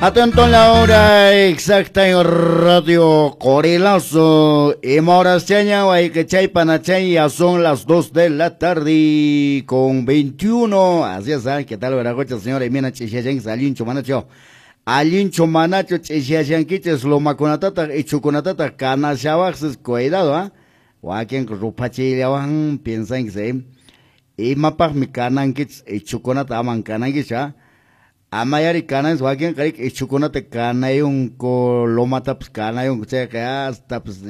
Atento a la hora exacta en Radio Corilazo. Y Moraseña, Guayquechay, ya son las 2 de la tarde con 21. Así es, ¿eh? ¿Qué tal, Veracocha, señora? Y mira, chishashanquis, allincho, manacho. Allincho, manacho, chishashanquiches, lomakunatata, ichukunatata, kanashawaxes, cuidado, ¿ah? Wakin rupachillawan, piensan que se. Imapaqmi kanankichis, ichukunata aman kanankichis, ¿ah? Amayari kanan wakin qarik ichukunata kanayunku lomatapas kanayunku chayqa hasta pues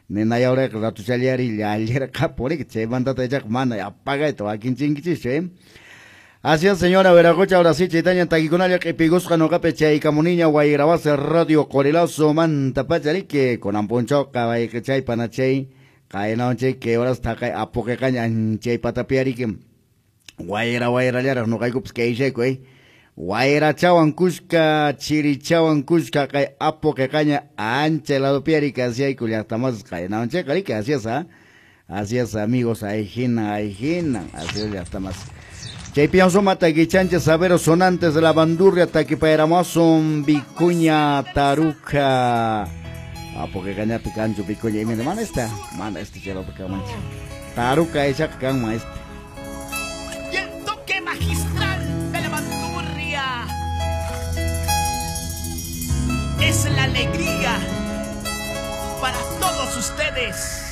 ninayawrayqa ratuchallari llallirqapurik chaymantata ichaqa mana apagayta wakin chinkichischu, ¿eh? Así es, señora Veracocha, ahora sí, chaytaña takikunalla q'ipigusqa nuqapi chaykamuniña wayrabase Radio Corilazo manta pachariki kunanpunchawqa wayqichay panachay qaynawanchay kay horas taqay apuqiqaña anchay patapiariki wayra wayrallaraq nuqaykupas kayshayku, ¿eh? Wayrachawan kushka, chirichawan kushka, kay apu qiqaña ancha ladopiari kasiayku llaqtamasas qaynawanchayqa riki, así es, ¿ah? Así es, amigos, ahí jina, así es llaqtamas. Chaypian suma taquichancha saberos sonantes de la bandurria taquipairamasun vicuña taruca. Apu qiqañapi kanchu vicuña imina mana esta, chaylapi kamancha. Taruca ichaqa kanman este. Y el toque magistral de la bandurria es la alegría para todos ustedes.